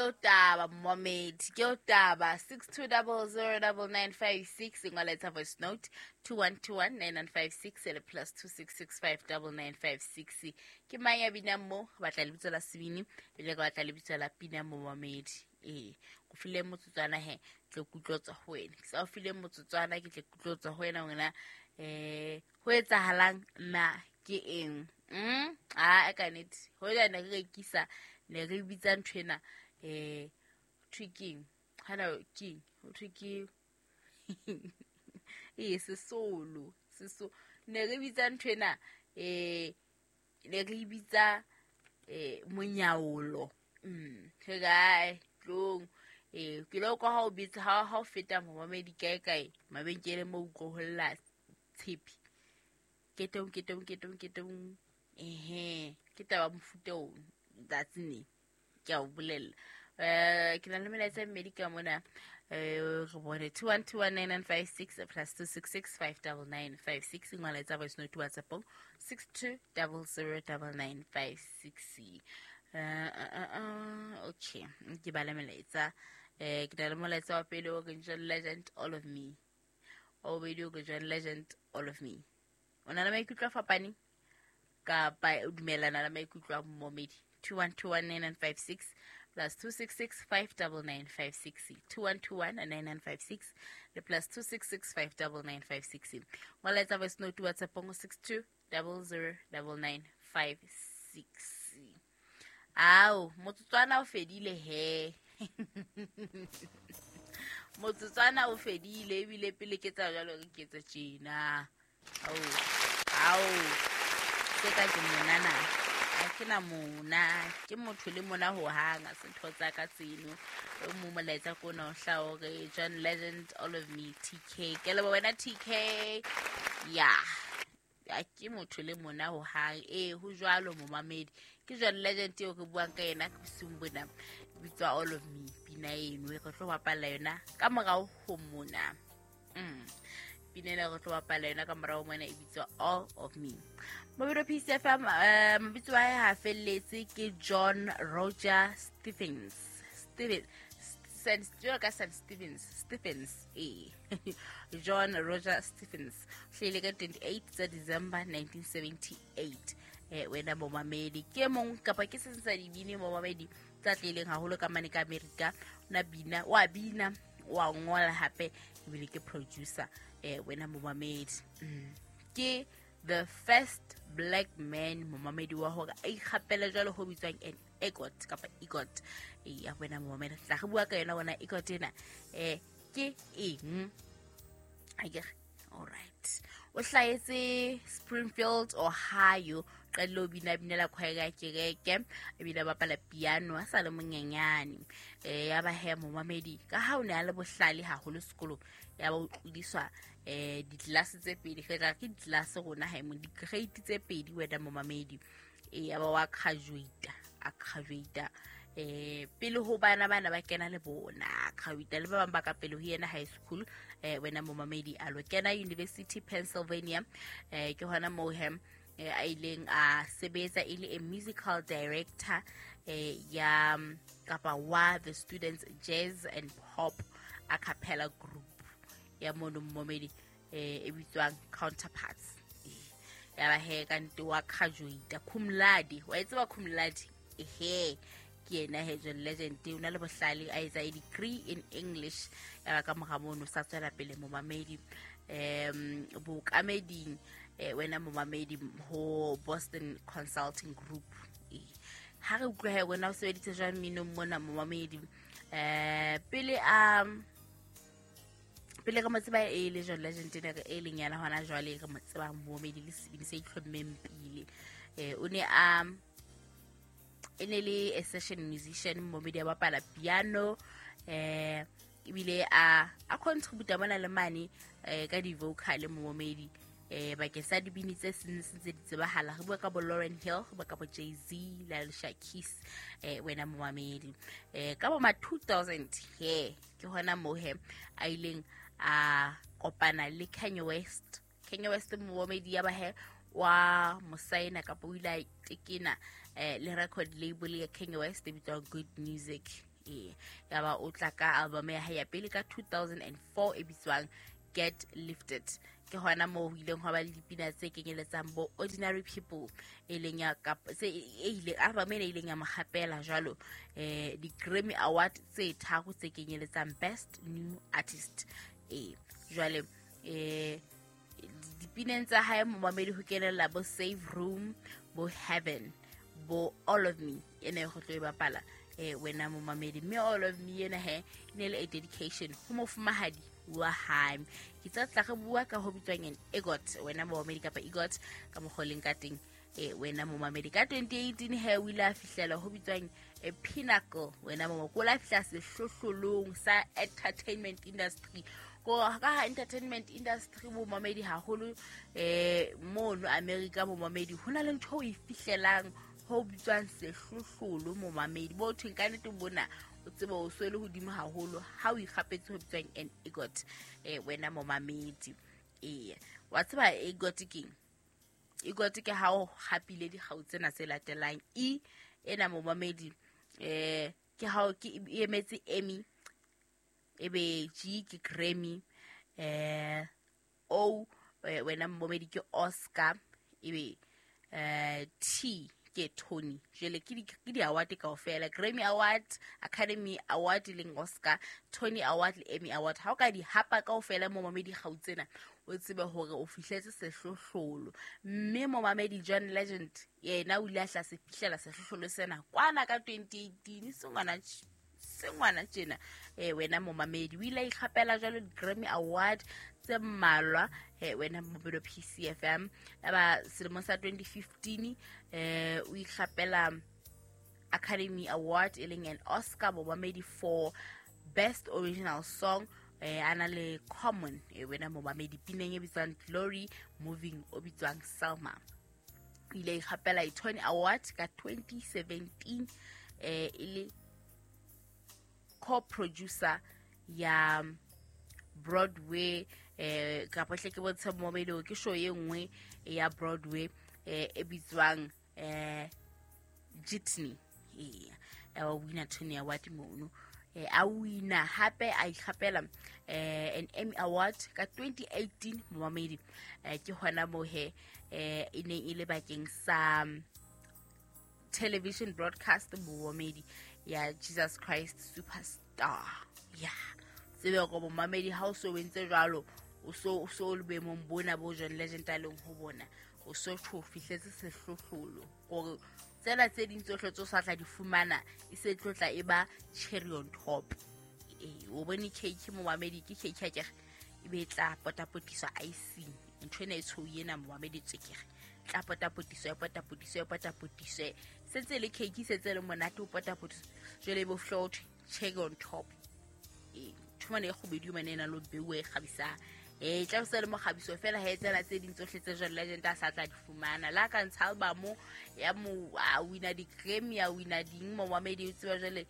o taba momamedi, ke o taba. 62009956, ngola etsa voice note 21219956 le +266599956. Ke mang ya binang mo? Re batla lebitso la sebini, ebile re batla lebitso la pina momamedi. Ee, go file motsotswana he, tle kutlwa tswa ho wena. Ke sa o file motsotswana, ke tle kutlwa tswa ho wena wena. Ho etsahalang na ke eng? A ka nnete hoja ne re rekisa, ne re bitsa ntho ena, thwe keng? Hana keng? Ho thwe ke ee, sesolo, seso. Ne re bitsa ntho ena, ne re bitsa monyaolo. Re kae tlong? Ke lo kwa ha o bitsa, ha o feta momamedi kae kae mabenkeleng mo utlwa ho lla tshepe. Ketong, ketong, ketong, ketong. Ehe, ke taba mofuta o tsatsi ne. Ke a o bolella. Ke na le melaetsa e mmedi ka mona. Re bone 21219956 +266 59956. Ngola etsa voice note WhatsApp 62009956. Okay, ke bala melaetsa. Ke na le molaetsa wa pele o reng John Legend, All of Me. Wa bobedi o re John Legend, All of Me. O na le maikutlo a fapaneng kapa o dumellana le maikutlo a momedi? 21219956 +266 59956, 21219956 le +266 59956. Ngola etsa voice note WhatsApp ngo 62009956. Ao, motsotswana o fedile he, motsotswana o fedile ebile pele ke tsa jwalo re ke tse tjena. Ao, ao, se ka ke monana, ha ke na mona, ke motho le mona ho hang, ha se ntho tsa ka tseno. O mo molaetsa ko ona o hlaha hore John Legend, All of Me, TK. Ke leboha wena TK. Ya. Ya, ke motho le mona ho hang. Ee, ho jwalo momamedi. Ke John Legend eo re buang ka yena bosiung bona. Bitswa All of Me, pina eno e re tlo bapalla yona ka morao ho mona. Pina ena re tlo bapalla yona ka morao mona e bitswa All of Me. Mabelo Peace FM, mabitso a hae ha felletse ke John Roger Stephens. Stephens. Saint, jwalo ka Saint Stephens, Stephens, ee. John Roger Stephens. Hlahile ka 28 tsa December 1978. Wena momamedi, ke mong kapa ke se sa dibini momamedi tsa tlileng haholo ka mane ka Amerika. Na bina, wa bina, wa ngola hape ebile ke producer. Wena momamedi. Ke the first black man momamedi wa hore a ikgapele jwalo ho bitswang an EGOT kapa EGOT. Ya wena momamedi, tla re bua ka yona wona EGOT ena. Ke eng? Akere? All right. O hlahetse Springfield, Ohio. Qadile ho bina binela choir ya kereke, ebile a bapala piano a sa le monyenyane. Ya ba he momamedi, ka ha o ne a le bohlale haholo sekolong, ya ba o tlodiswa ditlelase tse pedi. Re tla ke ditlelase rona ha e mo di-grade tse pedi wena momamedi. Ya ba wa graduate, a graduate pele ho bana bana ba kena le bona, graduate le ba bang ba ka pele ho yena high school. Wena momamedi a lo kena University Pennsylvania. Ke hona moo he a ileng a sebetsa e le a musical director ya kapa wa the students jazz and pop a cappella group ya mono momamedi, e bitswang Counterparts. Ya ba he ka nte wa graduate cum laude. Wa e tseba cum laude? Ehe, ke yena he John Legend, o na le bohlale, a etsa a degree in English. Ya ba ka mora mono sa tswela pele momamedi bookameding, wena momamedi, ho Boston Consulting Group. Ha re utlwa he wena o sebeditse jwang mminong mona momamedi? Pele a pele re mo tseba e le John Legend ene re e leng yana hona jwale re mo tsebang momamedi le sebini se itlhommeng pele. O ne a e ne le a session musician momamedi, a bapala piano, ebile a contributa mona le mane ka di-vocal momamedi, bakeng sa dibini tse seng se ntse di tsebahala. Re bua ka bo Lauryn Hill, re bua ka bo Jay-Z le Alicia Keys. Wena momamedi, ka bo ma 2000 he ke hona moo he a ileng a kopana le Kanye West. Kanye West momamedi, ya ba he wa mosaena kapa o ile a tekena le record label ya Kanye West e bitswang Good Music. Ee, yaba o tla ka album ya hae ya pele ka 2004 e bitswang Get Lifted. Ke hona moo ho ileng hwa ba le dipina tse kenyeletsang bo Ordinary People, e leng ya tse e ile album ena e ileng ya mo gapela jwalo di-Grammy Award tse tharo tse kenyeletsang Best New Artist. Ee, jwale dipineng tsa hae momamedi ho kenella bo Save Room, bo Heaven, bo All of Me ena e go tlo e bapala wena momamedi. Mme All of Me ena he e ne le a dedication ho mofumahadi wa hae. Ke tsa tla re bua ka ho bitswang an EGOT, wena momamedi, kapa EGOT ka mokgwa o leng ka teng, wena momamedi. Ka 2018 he o ile a fihlela ho bitswang a pinnacle, wena momamedi, ko la fihla sehlohlolong sa entertainment industry. Ko ka ha entertainment industry bomamedi haholo mono America bomamedi, ho na le ntho o e fihlelang ho bitswang sehlohlolo momamedi, bo thweng ka nnete bona o tsebe o so le hodimo haholo ha o ikgapetse ho bitswang an EGOT, wena momamedi. Ee, wa tseba EGOT keng? EGOT ke ha o hapile dikgau tsena tse latelang. E ena momamedi ke ha ke e emetse Emmy, ebe G ke Grammy, O wena momamedi ke Oscar, ebe T ke Tony. Jwale ke di-award kaofela: Grammy Award, Academy Award e leng Oscar, Tony Award le Emmy Award. Ha o ka di hapa kaofela momamedi kgau tsena, o tsebe hore o fihletse sehlohlolo. Mme momamedi John Legend yena o ile a hla se fihlela sehlohlolo sena kwana ka 2018, sengwana tjena, wena momamedi. O ile a ikgapela jwalo di-Grammy Award tse mmalwa, wena momamedi wa PCFM. Aba selemong sa 2015 o ikgapela Academy Award e leng an Oscar momamedi for Best Original Song, a na le Common, wena momamedi, pineng e bitswang Glory Moving o bitswang Selma. O ile a ikgapela i-Tony Award ka 2017 e le co-producer ya Broadway, kapa hle ke bontshe momamedi hore ke show e nngwe ya Broadway e bitswang Jitney. Ee, a wina Tony Award mono, a wina hape a ikgapela an Emmy Award ka 2018 momamedi. Ke hona moo he e neng e le bakeng sa television broadcast momamedi ya Jesus Christ Superstar. Ya tsebe hore momamedi ha o so entse jwalo, o so le boemong bona bo John Legend a leng ho bona, o so tho fihletse sehlohlolo, hore tsena tse ding tsohle tse o sa tla di fumana e se tlo tla e ba cherry on top. Ee, o bone cake momamedi, ke cake akere e be e tla potapotiswa icing, ntho ena e tshweu ena momamedi, tswekere tla potapotiswa, e potapotiswa, e potapotiswe, sentse le cake sentse le monate o potapotiswa, jwale e bo fihla ho thwe cherry on top. Ee, ntho mane e kgubedu mane e na le ho beuwa e kgabisang, tla se le mokgabiso fela ha e tsena tse ding tsohle tse John Legend a sa tla di fumana. La ka ntsha album ya mo a wina di-Grammy, a wina ding momamedi, o tseba jwale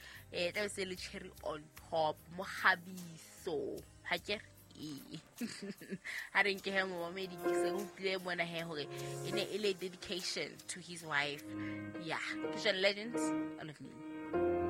tla se le cherry on top, mokgabiso ha ke re. Ee, ha re nke he momamedi, ke se utlwile mona he hore e ne e le dedication to his wife. Yeah, ke John Legend, All of Me.